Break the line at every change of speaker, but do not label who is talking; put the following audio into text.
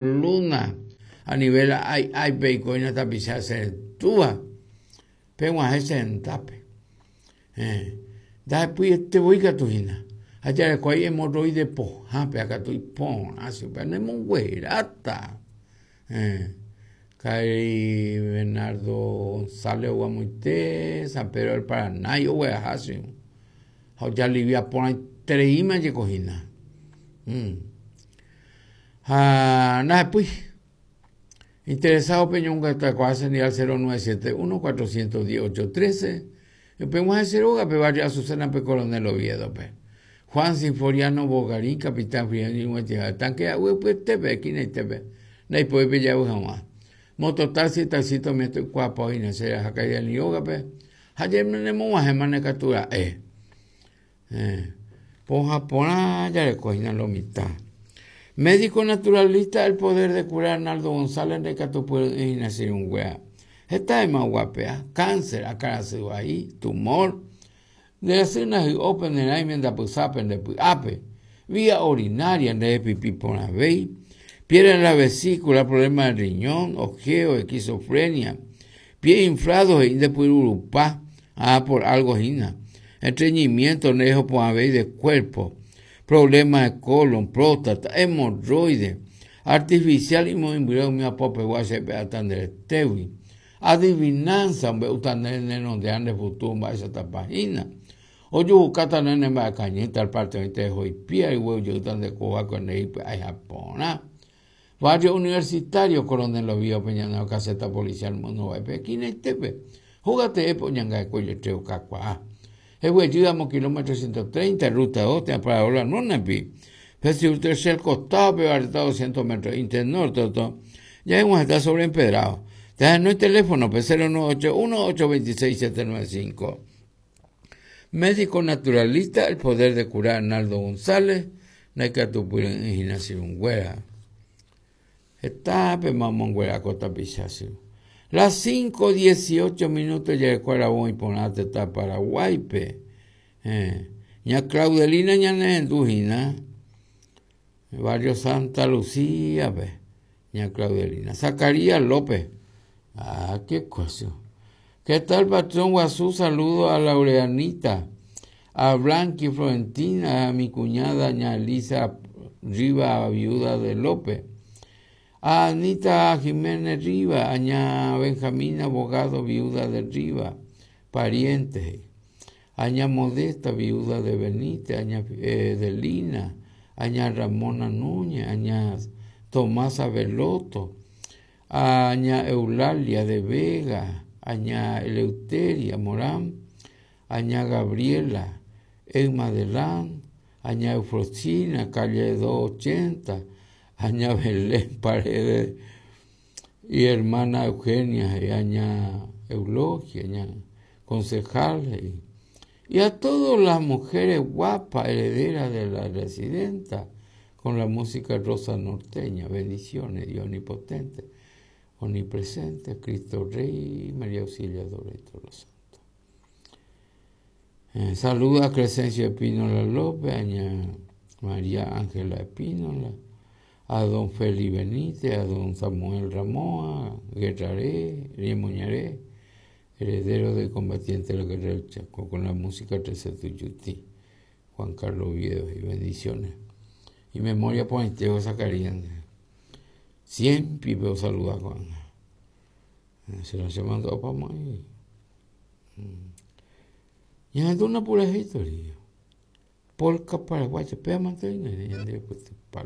Luna, a nivel ái áipe oikóina tapicha cherendúva, peg̃uahẽ che rendápe. Héẽ, ndahepyiete voi katu hína. Ha jarekuái hemorroide pohã péva katu iporã chupe, nemongueráta. Héẽ, karai Bernardo González oguamoite San Pedro del Paranágui ogueraha che ha ojalivia porãitereíma jeko hína. Ha ndahepýi. Interesado peñongatuakuaa che ndive al 0971 410 813 peg̃uahẽ che rógape barrio Azucena-pe Coronel Oviedo-pe. Juan Sinforiano Bogarín, capitán Frigerio ñug̃uaitĩha tanque a'ypyetépe, esquinaitépe, ndaipói pejavy hag̃ua. Mototaxi, taxista umi toikuaapa oĩna che raha Kairani rógape ha nemog̃uahẽmane katu ra'e. Pohã porã jareko hína lo mitã. Médico naturalista el poder de curar Arnaldo González ndaikatupyry'ỹ hína che irũnguéra. Heta yma oguapea, cáncer, akãrasy vai, tumor, nde rasy ndahy'ópe ne rãime ndapysápe nde py'ápe, vía urinaria nderepipi porãvéi, piedra en la vesícula, problema de riñón, ojeo, esquizofrenia, Pie inflado he'i nde pyrurupa, ah por algo hína. Estreñimiento nde rehopo'ãvéi de cuerpo, problema de colon, próstata, hemorroide, artificial imoĩmbyre umi apopegua che pe'áta nde retégui. Adivinanza ombe'úta nde nenonderã nde futuro mba'éichatapa hína. Ojuhukáta nde ne mba'ekañýta al parte oĩta eho ipía reguerujeýta nde kóva nde ipy'aiha porã. Barrio Universitario, Coronel Oviedo-pe ñane caseta policial Monóvaipe, esquinaitépe, hóga teépe oñangareko iletrero kakuaa. Heguejy amo kilómetro 130, ruta 2, térã Parador La Luna-pi. Pe sur tercer costado-pe barreta 200 metros inte norte gotyo, jaheg̃uahẽta sobre empedrado. Tahenói teléfono-pe 0981 826 795. Médico naturalista, el poder de curar Arnaldo González, ndaikatupyry'ỹ hína che irũnguéra. Hetápema omonguera ko tapicha che. Las 5:18 minutos jareko aravo iporã tetã Paraguáipe. Eh, ña Claudelina ñanerendu hína. Barrio Santa Lucía-pe, ña Claudelina. Zacarías López. Ah, qué cosa. ¿Qué tal, patrón guasu? Saludo a Laureanita, a Blanqui Florentina, a mi cuñada, ña Elisa Riva, viuda de López, a Anita Jiménez Riva, a ña Benjamina Abogado, viuda de Riva, parientes, a ña Modesta, viuda de Benítez, a ña eh, Delina, a ña Ramona Núñez, a ña Tomasa Veloto, a ña Eulalia de Vega, a ña Eleuteria Morán, a ña Gabriela Emma Delán, a ña Eufrosina, calle 280, a ña Belén Paredes y hermana Eugenia, y a ña Eulogia, ña concejal, he'i. Y a todas las mujeres guapas herederas de la residenta con la música rosa norteña. Bendiciones, Dios omnipotente, omnipresente, Cristo Rey, María Auxiliadora y todos los santos. Eh, saluda a Crescencio Espínola López, a ña María Ángela Espínola, a don Félix Benítez, a don Samuel Ramoa, Guerraré, Riemoñaré, heredero del combatiente de la guerra del Chaco, con la música 13 Tuyutí, Juan Carlos Oviedo, y bendiciones. Y memoria porãitéva Zacarías Siempre osaluda ko'ág̃a. Se la che mandu'ápa ahí. Ñahendu una purahéi torío. Polka paraguaya, péva mante oĩne ñande pytypa.